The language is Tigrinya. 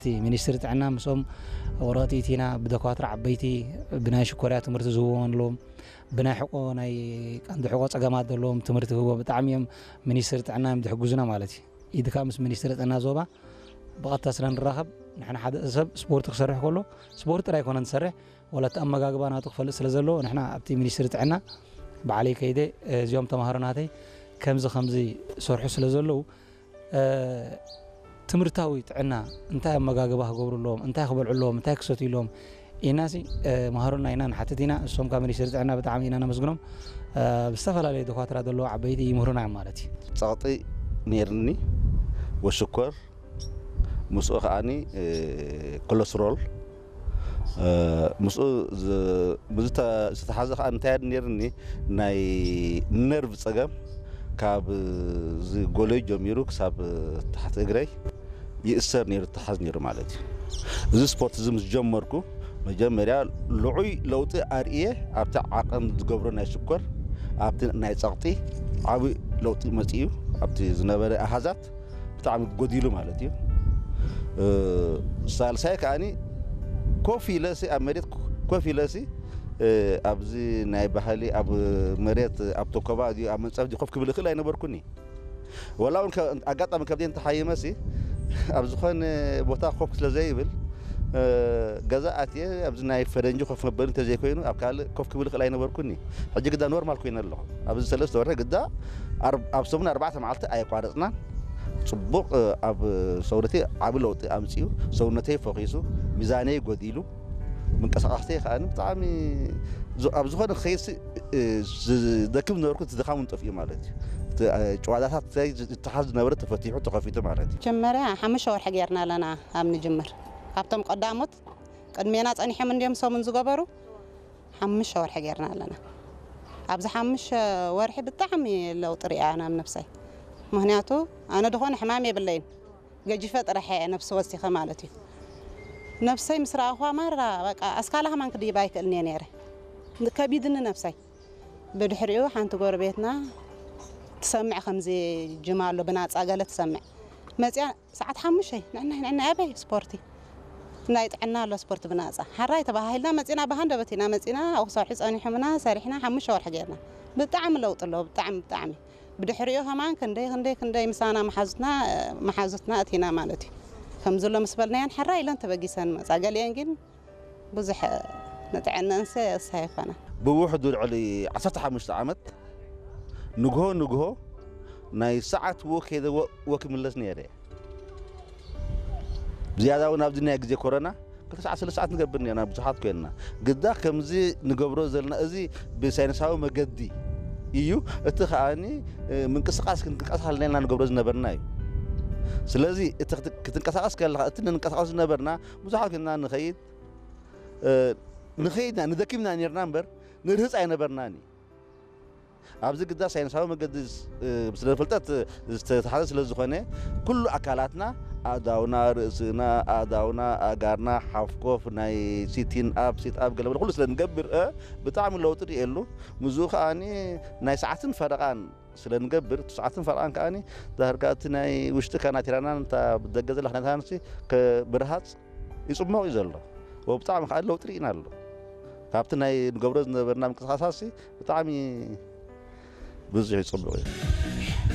እቲ ሚኒስትሪ ጥዕና ምስኦም ወረቐት ኢቲና ብደኳትራ ዓበይቲ ብናይ ሽኮርያ ትምህርቲ ዝህብዎም ኣለዎም፣ ብናይ ሕቆ ናይ ቀንዲ ሕቆ ጸገማት ዘለዎም ትምህርቲ ክህቦ ብጣዕሚ እዮም ሚኒስትሪ ጥዕና እዮም ዝሕግዙና ማለት እዩ። ኢድካ ምስ ሚኒስትሪ ጥዕና ዞባ ብቐጥታ ስለ ንራኸብ ንሕና ሓደ ሰብ ስፖርት ክሰርሕ ከሎ ስፖርት ጥራይ ኣይኮነን ዝሰርሕ፣ ዋላ እቲ ኣመጋግባ ናቱ ክፈልጥ ስለ ዘለዎ ንሕና ኣብቲ ሚኒስትሪ ጥዕና ባዕለይ ከይደ እዚኦም ተምሃሮ ናተይ ከምዚ ከምዚ ሰርሑ ስለ ዘለዉ ትምህርታዊ ጥዕና እንታይ ኣመጋግባ ክገብሩ ኣለዎም፣ እንታይ ክበልዑ ኣለዎም፣ እንታይ ክሰትዩ ኣለዎም ኢናሲ መሃሩና ኢና ንሓትት ኢና። እሶም ካብ ሚኒስትሪ ጥዕና ብጣዕሚ ኢና ነመስግኖም። ብዝተፈላለዩ ደኳትራ ዘለዎ ዓበይቲ ይምህሩና እዮም ማለት እዩ። ጸቕጢ ነይርኒ ወሽኮር ምስኡ ከዓኒ ኮለስትሮል ምስኡ ዝተሓዘ ከዓ እንታይ ነርኒ ናይ ነርቭ ፀገም ካብ ጎለይ ጀሚሩ ክሳብ ታሕቲ እግረይ ይእሰር ነይሩ ተሓዝ ነይሩ ማለት እዩ። እዚ ስፖርት እዚ ምስ ጀመርኩ መጀመርያ ልዑይ ለውጢ ኣርእየ ኣብቲ ዓቐን ዝገብሮ ናይ ሽኮር ኣብቲ ናይ ፀቕጢ ዓብይ ለውጢ መፅኡ ኣብቲ ዝነበረ ኣሃዛት ብጣዕሚ ጎዲሉ ማለት እዩ። ሳልሳይ ከዓኒ ኮፍ ኢለሲ ኣብ መሬት ኮፍ ኢለሲ ኣብዚ ናይ ባህሊ ኣብ መሬት ኣብ ተኮባ ድዩ ኣብ መንፀፍ ድዩ ኮፍ ክብል እኽእል ኣይነበርኩኒ። ወላ እውን ኣጋጣሚ ከብደ እንተሓይመሲ ኣብ ዝኾነ ቦታ ኮፍ ስለ ዘይብል ገዛ ኣትየ ኣብዚ ናይ ፈረንጂ ኮፍ መበሊ እንተዘይኮይኑ ኣብ ካልእ ኮፍ ክብል እኽእል ኣይነበርኩኒ። ሕጂ ግዳ ኖርማል ኮይነ ኣለኹ። ኣብዚ ሰለስተ ወርሒ ግዳ ኣብ ሰሙን ኣርባዕተ መዓልቲ ኣየቋረፅናን። ፅቡቕ ኣብ ሰውነተይ ዓቢ ለውጢ ኣምፅኡ። ሰውነተይ ፈኺሱ፣ ሚዛነይ ጎዲሉ፣ ምንቀሳቐስተይ ከዓ ብጣዕሚ ኣብ ዝኾነ ክኸይድ ዝደክም ዝነበርኩ እቲ ድኻም እውን ጠፊኡ ማለት እዩ። ጨዋታታት ዝተሓዝ ዝነበረ ተፈቲሑ ተኸፊቱ ማለት እዩ። መጀመርያ ሓሙሽተ ወርሒ ጌርና ኣለና ኣብ ንጅምር ካብቶም ቀዳሞት ቅድሜና ፀኒሖም እንዲዮም ሰሙን ዝገበሩ ሓሙሽተ ወርሒ ጌርና ኣለና። ኣብዚ ሓሙሽተ ወርሒ ብጣዕሚ ለውጢ ሪኣ ናብ ነብሰይ። ምክንያቱ ኣነ ድኾነ ሕማም የብለይን። ገጂፈ ጥራሕ እየ ነብሲ ወሲኸ ማለት እዩ። ነብሰይ ምስ ረኣኹዋ ማራ በቃ ኣስካላ ከማን ክድይባ ኣይክእልን እየ ነይረ። ከቢድኒ ነብሰይ። ብድሕሪኡ ሓንቲ ጎረቤትና ትሰምዕ ከምዚ ጅማ ኣሎ ብናፃ ገለ ትሰምዕ መፅያ ሰዓት ሓሙሽተ ንዕናይ ንዕናይ ኣበይ ስፖርቲ ናይ ጥዕና ኣሎ ስፖርቲ ብናፃ ሓራይ ተባሃሂልና መፂና ብሃንደበት ኢና መፂና ኣብኡ ክሰርሑ ፀኒሖምና ሰሪሕና ሓሙሽተ ወርሒ ገይርና ብጣዕሚ ለውጢ ኣለዎ ብጣዕሚ ብጣዕሚ ብድሕሪኡ ከማን ክንደይ ክንደይ ክንደይ ምሳና መሓዙትና መሓዙትና እቲና ማለት እዩ ከም ዘሎ ምስ በልናየን ሓራይ ኢለን ተበጊሰን መፃ ገሊአን ግን ብዙሕ ንጥዕነንሰ እሳይ ኣይኮነን ብውሕዱ ልዕሊ ዓሰርተ ሓሙሽተ ዓመት ንግሆ ንግሆ ናይ ሰዓት ወክ ሄደ ወክ ይምለስ ነይረ። ብዝያዳ እውን ኣብዚ ናይ ግዜ ኮረና ክልተ ሰዓት ሰለስተ ሰዓት ንገብር ነርና ብዙሓት ኮይንና። ግዳ ከምዚ ንገብሮ ዘለና እዚ ብሳይንሳዊ መገዲ እዩ። እቲ ከዓኒ ምንቅስቃስ ክንቅስቃስ ሃለና ንገብሮ ዝነበርና እዩ። ስለዚ እቲ ክትንቀሳቀስ ከለካ እቲ ንንቀሳቀስ ዝነበርና ብዙሓት ኮይንና ንኸይድ ንኸይድና ንደኪምና ነርና እምበር ንርህፅ ኣይነበርናን እዩ። ኣብዚ ግዳ ሳይንሳዊ መገዲ ስለ ፍልጠት ዝተተሓዘ ስለ ዝኾነ ኩሉ ኣካላትና ኣእዳውና፣ ርእስና፣ ኣእዳውና፣ ኣእጋርና፣ ሓፍኮፍ፣ ናይ ሲቲን ኣፕ፣ ሲት ኣፕ ገለ ኩሉ ስለ ንገብር ብጣዕሚ ለውጢ ርእየሉ። ምስኡ ከዓኒ ናይ ሰዓትን ፈረቓን ስለ ንገብር እቲ ሰዓትን ፈረቓን ከዓኒ ዳርጋ እቲ ናይ ውሽጢ ካናቲራናን እታ ብደገ ዘላ ካናቲራናን ብርሃፅ ይፅመቕ እዩ ዘሎ። ብጣዕሚ ከዓ ለውጢ ርኢና ኣሎ። ካብቲ ናይ ንገብሮ ዝነበርና ምንቅስቃሳሲ ብጣዕሚ ብዙሕ ይፅብቕ እዩ።